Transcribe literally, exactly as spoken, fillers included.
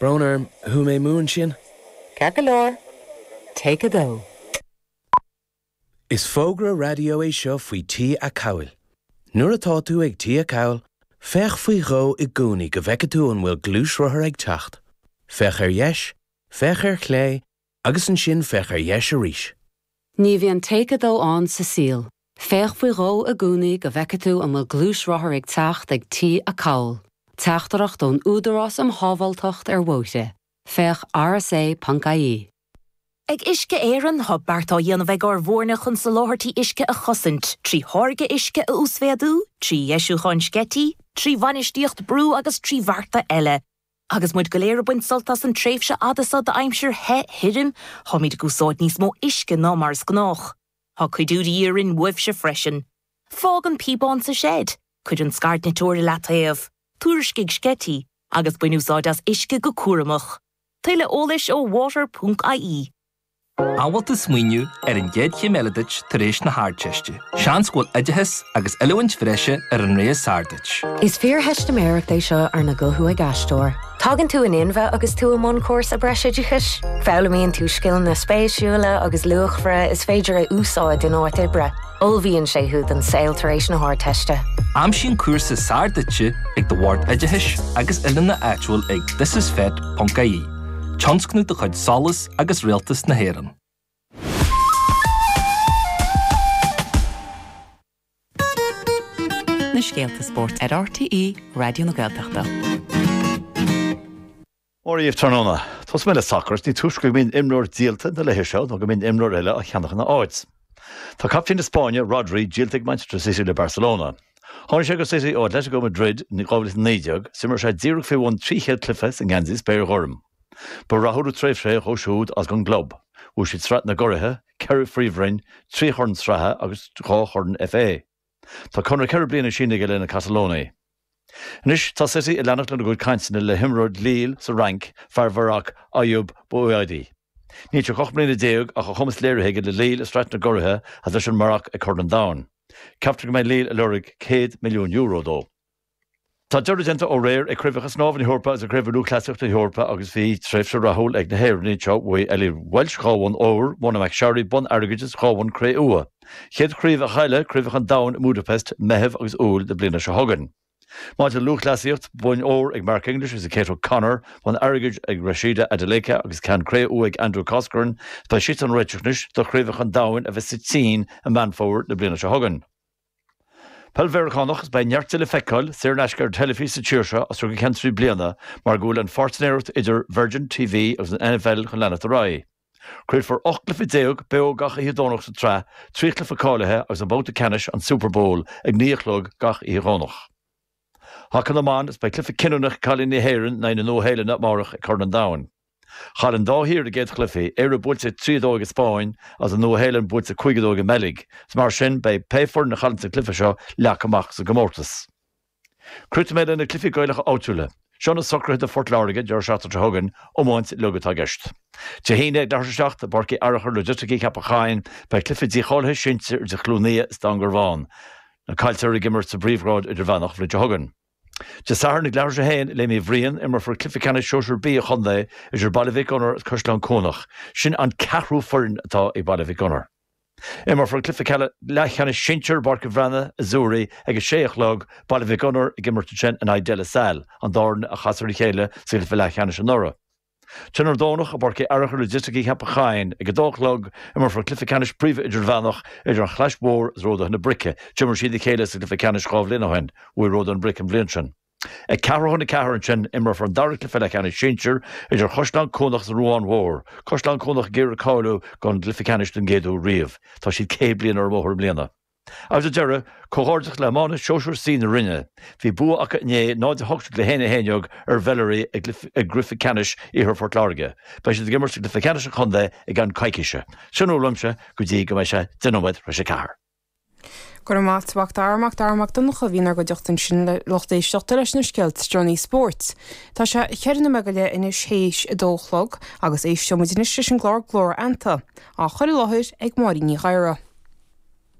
Brón orm, chuaigh mé amú ansin. Ceart go leor. Take a dó. Is fógra raidió é seo faoi Tí Acomhail. Nuair atá tú ag Tí Acomhail, féach faoi dhó i gcónaí go bhfeice tú an bhfuil gluaisrothar ag teacht. Féach ar dheis, féach ar chlé, agus ansin féach ar dheis arís. Ní bhíonn take a dó ann sa saol. Féach faoi dhó i gcónaí go bhfeice tú an bhfuil gluaisrothar ag teacht ag Tí Acomhail. Teachtaireacht ón Údarás um Shábháilteacht ar Bhóithre. Féach rsa.ie. Ag Uisce Éireann tá beart á dhéanamh ag ár bhfoirne chun soláthairtí uisce a chosaint, trí tháirgeadh uisce a uasmhéadú, trí dheisiúcháin sceití, trí bhainistíocht brú agus trí bhearta eile. Agus muid go léir ag baint sult as an tréimhse fhada seo d'aimsir the thirim, táimid ag úsáid níos mó uisce ná mar is gnách. Tá cuidiú de dhíth orainn uaibhse freisin. Fág an píobán sa seid, cuir an scairdniteoir i leataobh, tuairiscigh sceití, agus bain úsáid as uisce go cúramach. Tuilleadh eolais ó water.ie. An bhfuil tú ag smaoineamh ar an gcéad chéim eile duit tar éis na hArdteiste. Seans go bhfuil oideachas agus oiliúint bhreise ar an rogha is fearr duit. Is fíortheistiméireacht é seo arna guthú ag aisteoir. Tagann tú in inmhe agus tú i mbun cúrsa breisoideachais, Foghlaimíonn tú scileanna spéisiúla agus luachmhara is féidir a úsáid in áit oibre. Ullmhaíonn sé thú don saol tar éis na hArdteiste. Aimsigh an cúrsa is fearr duitse ag do bhord oideachais agus oiliúna áitiúil ag thisisfet.ie. Tionscnamh de chuid SOLAS agus Rialtas na hÉireann. Na scéalta spóirt ar RTÉ Raidió na Gaeltachta. Mora dhaoibh tráthnóna. Tosóidh mé le sacar, ní túisce go mbíonn imreoir díolta na laethe seo nó go mbíonn imreoir eile á cheannach ina áit. Tá captaen na Spáinne, Rodri, díolta ag Manchester City le Barcelona. Tháinig sé go City ó Atletico Madrid in dhá mhíle is a naoi déag, is d'imir sé díreach faoi bhun trí chéad cluiche sa ngeansaí spéirghorm. Ba rathúil an tréimhse é dhó siúd agus don gclub. Bhuaigh siad Sraith na gCuraithe, ceithre phríomhroinn, trí chorn sraithe agus dhá chorn FA. Tá conradh ceithre bliana sínithe aige le na Catalónaigh. Anois tá City ag leanacht lena gcuid cainteanna le himreoir Lille sa Fhrainc, fear Mharoc, Ayyoub Bouaddi. Níl sé ach ocht mbliana déag ach a chumas léirithe aige le Lille i Sraith na gCuraithe agus leis an Maroc ag Corn an Domhain. Ceaptar go mbeidh Lille ag lorg céad milliún euro dó. Tá deireadh déanta ó aréir ag Craobhacha Snámha na hEorpa agus ag Craobh Lúthchleasaíochta na hEorpa agus bhí tréimhse rathúil ag na hÉireannaigh anseo. Bhuaigh Ellie Walsh dhá bhonn óir, Mona McSharry bonn airgid is dhá bhonn cré-umha. Chéad chraobhacha eile, Craobhacha an Domhain i mBudapest, Meitheamh agus Iúil na bliana seo chugainn. Maidir le lúthchleasaíocht, boinn óir ag Mark English agus Kate O'Connor, bonn airgid ag Rhasidat Adeleke agus ceann cré-umha ag Andrew Coscoran. Beidh siadsan ag réiteach anois do Chraobhacha an Domhain a bheas sa tSín i Meán Fómhair na bliana seo chugainn. Peil Mheiriceánach, is beidh neart di le feiceáil saor in aisce ar an teilifís sa tír seo as seo go ceann trí bliana mar go bhfuil an pháirtnéireacht idir Virgin TV agus an NFL chun leanacht ar aghaidh. Craolfar ocht gcluiche déag beo gach oíche Domhnach sa tsraith, trí chluiche cáilithe agus an babhta ceannais, an Super Bowl, ag naoi a chlog gach oíche Dhomhnach. Haca na mBan, is beidh cluiche cinniúnach ag cailíní na hÉireann in aghaidh na Nua-Shéalainne amárach ag Corn an Domhain. Chaill an dá thír a gcéad chluichí, Éire buailte trí a dó ag an Spáinn agus an Nua-Shéalainn buailte cúig a dó ag an mBeilg. Is mar sin, beidh pé foireann a chailleann sa gcluiche seo leagtha amach sa gcomórtas. Críochnóidh mé le na cluichí Gaelacha áitiúla. Seo na socruithe do Phort Láirge an deireadh seachtaine seo chugainn, iomáint uilig atá i gceist. Dé hAoine ag leathuair tar éis a seacht i bPáirc Uí Fhearachair Logistics Cheapach Choinn, beidh cluiche dícháilithe sinsir idir Chluain Aodha is Dún Garbhán. Na caillteoirí ag imirt sa bpríomhghrád idirmheánach an bhliain seo chugainn. Dé Sathairn ag leathuair tar éis a haon i Léim Uí Bhriain, imreofar cluiche ceannais sóisir B an chontae idir Baile Mhic Gonair agus Caisleán Cuanach. Sin an ceathrú foireann atá ag Baile Mhic Gonair. Imreofar cluiche leathcheannais sinsir i bPáirc an Bhreathnaigh i Zúraí ag a sé a chlog, Baile Mhic Gonair ag imirt ansin in aghaidh De La Salle, an dá fhoireann a chas ar a chéile sa gcluiche leathcheannais anuraidh. Tráthnóna Domhnach i bPáirc Uí Fhearachair Logistics Cheapach Choinn ag a dó a chlog, imreofar cluiche ceannais príomha idirmheánach idir an Chlais Mhór agus Ródaithe na Brice. D'imir siad a chéile sa gcluiche ceannais dhá bhliain ó shin. Bhuaigh Ródaithe na Brice an bhliain sin. Ag ceathrú chun a ceathair ansin, imreofar an dara cluiche leathcheannais sinsir idir Chaisleán Cuanach agus an Ruán Mhór. Caisleán Cuanach ag iarraidh cáiliú don gcluiche ceannais don gcéad uair riamh. Tá siad céad bliain ar an mbóthar i mbliana. Agus ar deireadh, comhghairdeas le hiománaithe Sóisir C na Rinne. Bhí bua acu inné, náid a hocht déag le haon a haon déag, ar Mheilearaí i gcluiche ceannais Iarthar Phort Láirge. Beidh siad ag imirt i gcluiche ceannais an chontae i gceann coicíse. Sin a bhfuil uaimse go dtí go mbeidh sé deich nóiméad tar éis a ceathair. Go raibh maith agat a Mhac Dara, Mac Dara Mac Donncha a bhí inár gcuideachta ansin le lucht éisteachta leis na scéalta is deireanaí spóirt. Tá sé cheithre nóiméad go leith anois théis a dó a chlog agus éisteoidh muid anois leis an gclár Glór Fheannta, á chur i láthair ag Máirín Ní Ghadhra.